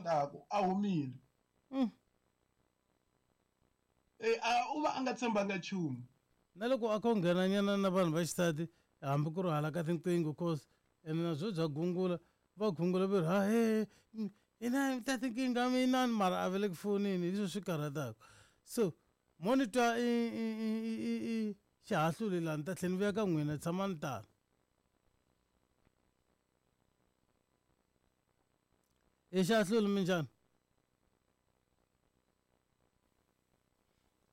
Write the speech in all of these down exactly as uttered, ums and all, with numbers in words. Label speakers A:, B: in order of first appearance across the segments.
A: karhataka a humile.
B: Mm.
A: Eh a u va a nga tshembanga nchumu.
B: Na loko a kho nghenanyana na vanhu va xisati hambi ku ri hala ka tinqingho cause ene na byo bya gungula va gungula va ri ha he ina ta tinkingha minani mara a va le ku fonini hi leswi swi karhataka. So mo ni twa i i i i i xihahluli laha ni ta tlhela ni vuya ka n'wina tshamani tano. I xihahluli minjhani?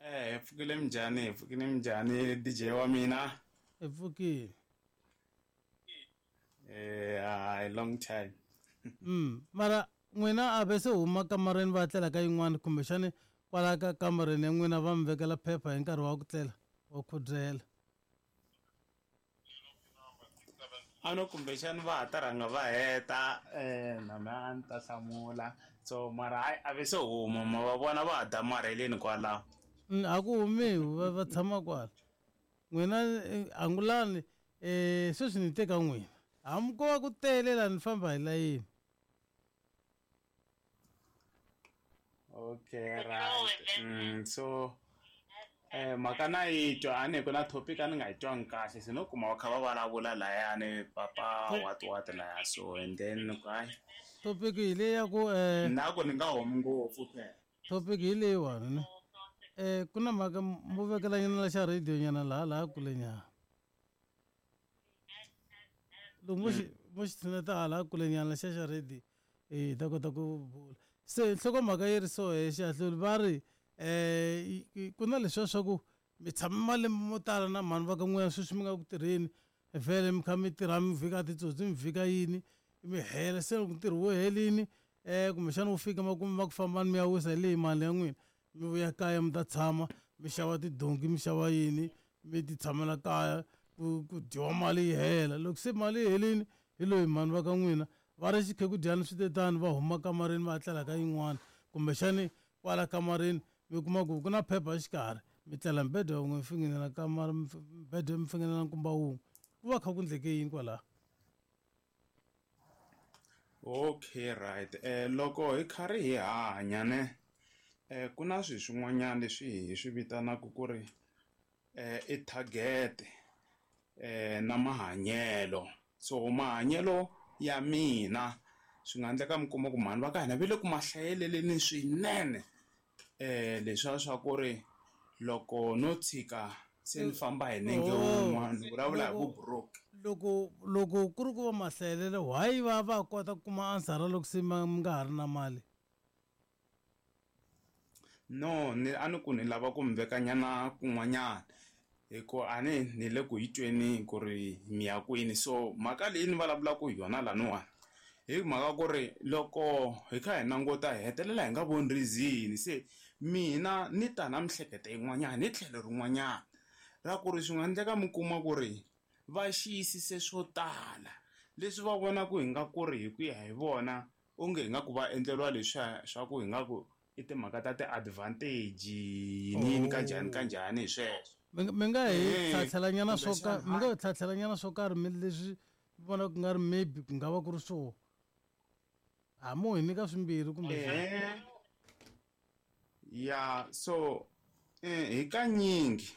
C: Eh, hi pfukile minjhani, hi pfukile minjhani D J wa mina?
B: Hi pfukile.
C: Eh, hayi long time.
B: Mm, mara n'wina a ve se huma kamareni va tlela ka yin'wana kumbexani kwala ka kamareni ya n'wina va mi vekela phepha hi nkarhi wa ku tlela wa khudzela.
C: A no kumbexani va ha ta rhanga va heta eh na mina a ni ta hlamula. So mara hayi a ve se huma ma va vona va ha damarheleni kwalaho.
B: A ku humiwi va va tshama kwala. N'wina angulani eh sweswi ni teka n'wina. Hambi ko va ku tele laha ni famba hi layini.
C: Okay, right. Mm, so eh mhaka na yi twa a ni ku na topic a ni nga yi twangi kahle se no kuma va kha va vulavula layani papa what what laya so and then ku hayi
B: topic hi leyi ya ku eh
C: na ku ni nga humi ngopfu phela.
B: Topic hi leyiwani ne eh ku na mhaka mo vekela nyana la xa radio nyana laha laha kule nyana. Loko mo xi mo xi tshineta hala kule nyana xa xa radio eh hi ta kota ku bula. Se nhlokomhaka yi ri so he xihahluli va ri eh ku na leswiya swa ku mi tshame malembe mo tala na mhani va ka n'wina sweswi mi nga ku tirheni vhele mi kha mi tirha mi vhika titsotsi mi vhika yini mi hela se loko ntirho wu helini eh kumbexana wu fika makumu ma ku fambani mi ya wisa hi leyi mali ya n'wina mi vuya kaya mi ta tshama mi xava tidonki mi xava yini mi ti tshamela kaya ku ku dyiwa mali yi hela. Loko se mali yi helini hi loyi mhani va ka n'wina va ri xikhekhudyani swi te tani va huma kamareni va tlela ka yin'wana kumbexani kwala kamareni mi kuma ku ku na phepha exikarhi mi tlela mbedwa wun'we mi finginela kamara mbedwa mi finginela nkumba wun'we ku va kha ku endleke yini kwalaho.
C: Okay, right. Eh loko hi karhi hi hanya ne eh ku na swilo swin'wanyana leswi hi swi vitanaka ku ri eh i target eh na mahanyelo. So mahanyelo ya mina swi nga endleka mi kuma ku mhani va ka hina va le ku ma hlayeleleni swinene eh leswiya swa ku ri loko no tshika se ni famba hi nenge wun'wana ni vulavula hi
B: loko
C: vu-broke.
B: loko loko ku ri ku va mahlayelelo why va va kota ku kuma answer loko se ma mi nga ha ri na mali?
C: No, ni a ni ku ni lava ku mi vekanyana kun'wanyana hi ku a ni ni le ku yi tweni ku ri mi ya kwini. So mhaka leyi ni vulavulaka hi yona laniwani hi mhaka ku ri loko hi kha hi languta hi hetelela hi nga voni reason. Se mina ni ta na miehleketo yin'wanyana hi tlhelo rin'wanyana ra ku ri swi nga endleka mi kuma ku ri va xiyisise swo tala leswi va vonaka hi nga ku ri hi ku ya hi vona onge hi nga ku va endleriwa leswiya swa ku hi nga ku i timhaka ta ti-advantage yini yini kanjhani kanjhani hi sweswo.
B: Mi nga mi nga hi
C: Eh,
B: tlhatlhelanyana swo ka
C: kumbexana
B: mi nga hi tlhatlhelanyana swo karhi mi leswi mi vonaka ku nga ri maybe ku nga va ku ri swoho. A mo hi nyika swimbirhi kumbe
C: Eh ya so eh hi kanyingi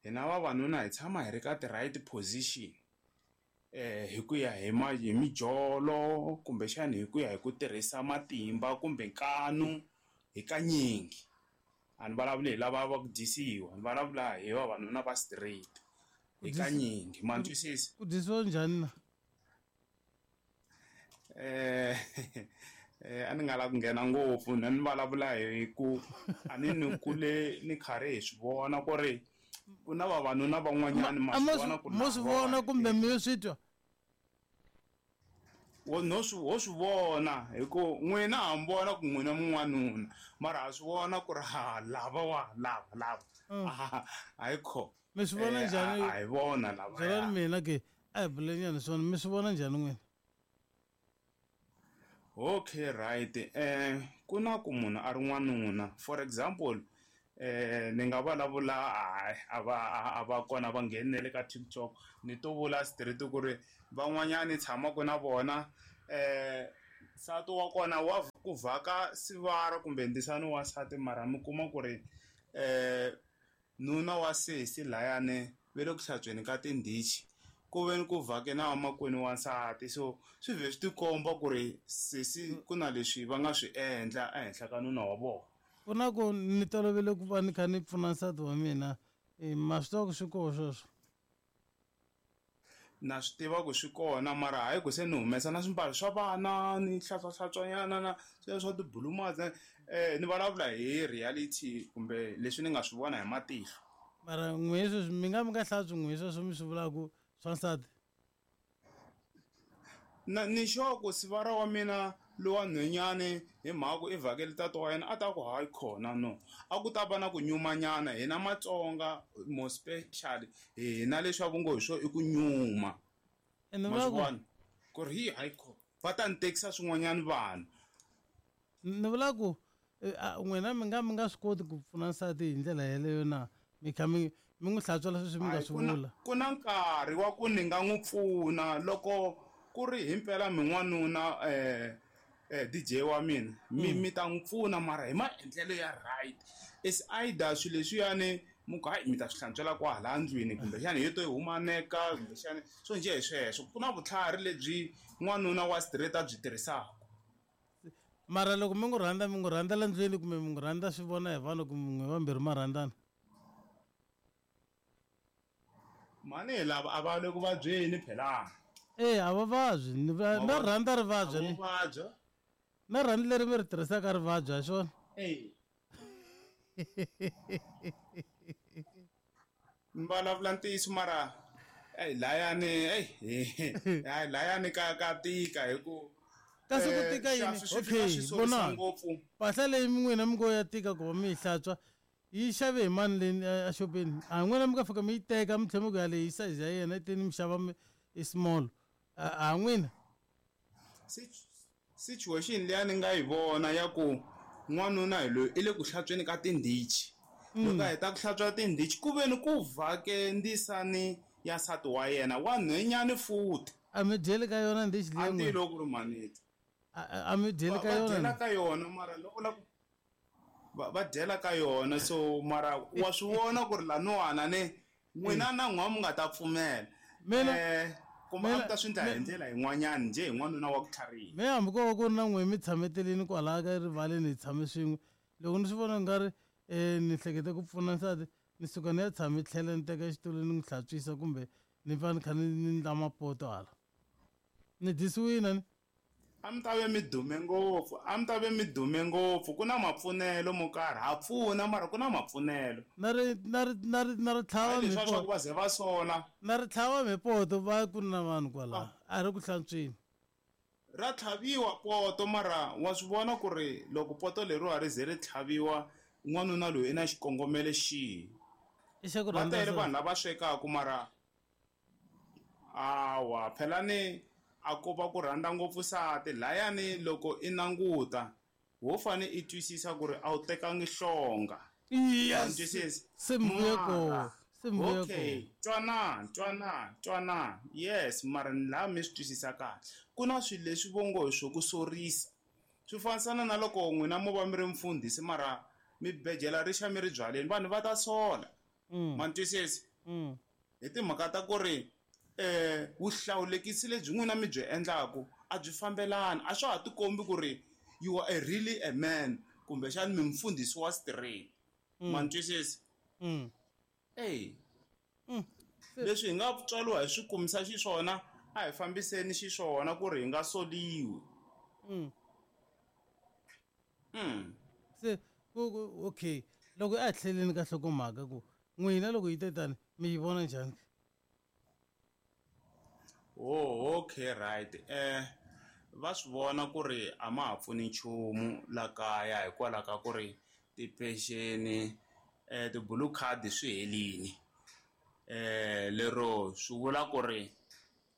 C: hina vavanuna hi tshama hi ri ka ti-right position eh hi ku ya hi ma hi mijolo kumbexani hi ku ya hi ku tirhisa matimba kumbe nkanu hi kanyingi. A ni vulavuli hi lava va ku dyisiwa ni vulavula hi vavanuna va straight
B: Ku
C: hi
B: dyisi
C: kanyingi ma ni
B: ku
C: twisisa.
B: ku dyisiwa njhani na?
C: Eh eh a ni nga lavi ku nghena ngopfu na ni vulavula hi ku a ni ni kule ni karhi hi swi vona ku ri ku na vavanuna van'wanyana ma
B: A
C: swi
B: mo
C: vona ku
B: mo swi
C: lava
B: vona kumbe mi yo swi twa?
C: Wo no swi wo swi vona hi ku n'wina ha mi vona ku n'wina mun'wanuna mara ha swi vona ku ri ha lava wa lava lava
B: Mm.
C: hayi kho
B: Mi swi vona
C: eh a
B: njhani?
C: a hi vona lava
B: Byelani
C: ya.
B: mina ke a hi bulenyana swona mi swi vona njhani n'wina?
C: Okay, right. Eh ku na ku munhu a ri n'wanuna for example eh ni nga vulavula hayi a va a va kona va nghenele ka TikTok ni to vula straight ku ri van'wanyani ni tshamaka na vona eh Nsati wa kona wa ku vhaka sivara kumbe ndisani wa nsati mara mi kuma ku ri um nuna wa sesi layani ve le ku hlantsweni ka tindhichi ku ve ni ku vhake na vamakwenu wa nsati, so swi vhe swi tikomba ku ri sesi ku na leswi va nga swi endla ehenhla ka nuna wa vona.
B: Ku na ku ni tolovele ku va ni kha ni pfuna nsati wa mina, ma swi tiva ku swi koho sweswo?
C: Na swi tiva ku swi kona, mara hayi ku se ni humesa na swimbalo swa vana ni hlantswahlantswanyana na sweswo swa tibulumaza, um ni vulavula hi reality kumbe leswi ni nga swi vona hi matihlo.
B: Mara n'we sweswi mi nga mi nga hlantswi n'we sweswo mi swi vulaka swa nsati?
C: Na ni sure ku sivara wa mina lowa nhwenyani hi mhaka ku i vhakele tata wa yena a ta ku hayi khona no, a ku ta va na ku nyumanyana. Hina Matsonga more specially hina leswi va ngo hi swo i ku nyuma,
B: ma
C: swi vona ku ri hi hayi khona va ta ni tekisa swin'wanyana vanhu.
B: Ni vula ku n'wina mi nga mi nga swi koti ku pfuna nsati hi ndlela yeleyo na, mi kha mi mi n'wi hlantswela sweswi mi nga swi vula?
C: Ku na nkarhi wa ku ni nga n'wi pfuna loko ku ri himpela mi n'wanuna um D J wa mina mi mi ta n'wi pfuna mara hi maendlelo ya right. Is either swilo leswiyani mi ku hayi mi ta swi hlantswela kwahala ndlwini kumbexana hi to yi humaneka kumbexana swo njhe hi sweswo. Ku na vutlhari lebyi n'wanuna wa straight a byi tirhisaka.
B: Mara loko mi n'wi rhandza mi n'wi rhandzela ndlwini kumbe mi n'wi rhandza swi vona hi vanhu kumbe n'we vambirhi ma rhandzana?
C: Mani lava a va le ku vabyeni phela.
B: Eh, a va vabyi, na rhandza ri vabya ni. Na rhandza leri mi ri tirhisaka ri vabya hi swona?
C: Eh. Ni vulavula ntiyiso mara ey layani ey hayi layani ka ka tika hi ku
B: kasi ku tika yini? Okay, vona mpahla leyi n'wina mi ngo ya tika ku va mi yi hlantswa yi xave hi mani leyi exopeni? A n'wina mi nga fika mi yi teka mi tlhela mi ku ya leyi size ya yena teni mi xava i small, a n'wina?
C: Situation leyi ni nga yi vona ya ku n'wanuna hi loyi i le ku hlantsweni ka tindhichi, loko a heta ku hlantswa tindhichi ku ve ni ku vhake ndisani ya nsati wa yena wa nhwenyani futhi.
B: A mi dyeli ka yona ndhichi leyi?
C: A ti loko ku ri maniti
B: a mi dyeli ka yona?
C: Va dyela ka yona mara loko la va dyela ka yona, so mara wa swi vona ku ri laniwana ne n'wina na n'wa mi nga ta pfumela.
B: Mina
C: kumbe a mi ta swi endla hi ndlela yin'wanyana njhe hi n'wanuna wa ku tlhariha.
B: Me hambi ko va ku ri na n'we mi tshametelini kwalaya ka rivaleni hi tshame swin'we, loko ni swi vona nga ri um ni hlekete ku pfuna nsati ni suka ni ya tshame tlhela ni teka xitulu ni n'wi hlantswisa kumbe ni va ni kha ni ni ndla mapoto hala ni dyisiwile ni.
C: A mi ta ve mi dume ngopfu, a mi ta ve mi dume ngopfu. Ku na mapfunelo mo karhi, ha pfuna mara ku na mapfunelo.
B: Na ri na ri na ri na ri tlhava
C: leswi swa ku va ze va sola.
B: Na ri tlhava mipoto va ku na vanhu kwala a ri ku hlantswini.
C: Ra tlhaviwa poto mara wa swi vona ku ri loko poto leriwa ri ze ri tlhaviwa n'wanuna loyi i na xikongomelo xihi.
B: I xa ku
C: Va
B: rhandza
C: tele vanhu lava swekaka mara awa phela ni a ko va ku rhandza ngopfu nsati layani loko i languta wo fane i twisisa ku ri a wu tekangi hlonga.
B: Yes.
C: Twisisa?
B: Se mvuye ko, se mvuye ko.
C: Okay, twanana, twanana, twanana. Yes, mara ni laha mi swi twisisa kahle. Ku na swilo leswi vo ngo hi swo ku sorisa. Swi fanisana na loko n'wina mo va mi ri mfundhisi mara mi bejela ri xa mi ri byaleni, vanhu va ta sola. Ma ni twisisa? Hi timhaka ta ku ri eh vuhlawulekisi lebyi n'wina mi byi endlaku a byi fambelani, a swa ha tikombi ku ri you are a really a man kumbexani mi mfundhisi wa straight. Ma ni twisisa? Ey. Leswi hi nga tswariwa hi swi kumisa xiswona a hi fambiseni xiswona ku ri hi nga soliwi. Mm.
B: Se ku ku okay, loko a tlheleni ka nhlokomhaka ku n'wina loko yi te tani mi yi vona njhani?
C: Oh, okay, right. Eh va swi vona ku ri a ma ha pfuni nchumu la kaya hikwalaho ka ku ri tipexeni eh ti-blue card swi helini. Eh lero swi vula ku ri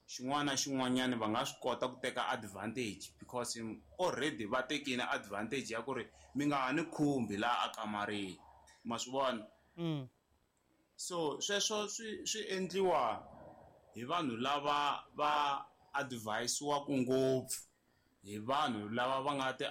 C: xin'wana na xin'wanyana va nga swi kota ku teka advantage because already va tekile advantage ya ku ri mi nga ha ni khumbi laha akamareni. Ma swi vona?
B: Mm.
C: So sweswo swi swi endliwa hi vanhu lava va advisiwaka ngopfu hi vanhu lava va nga ti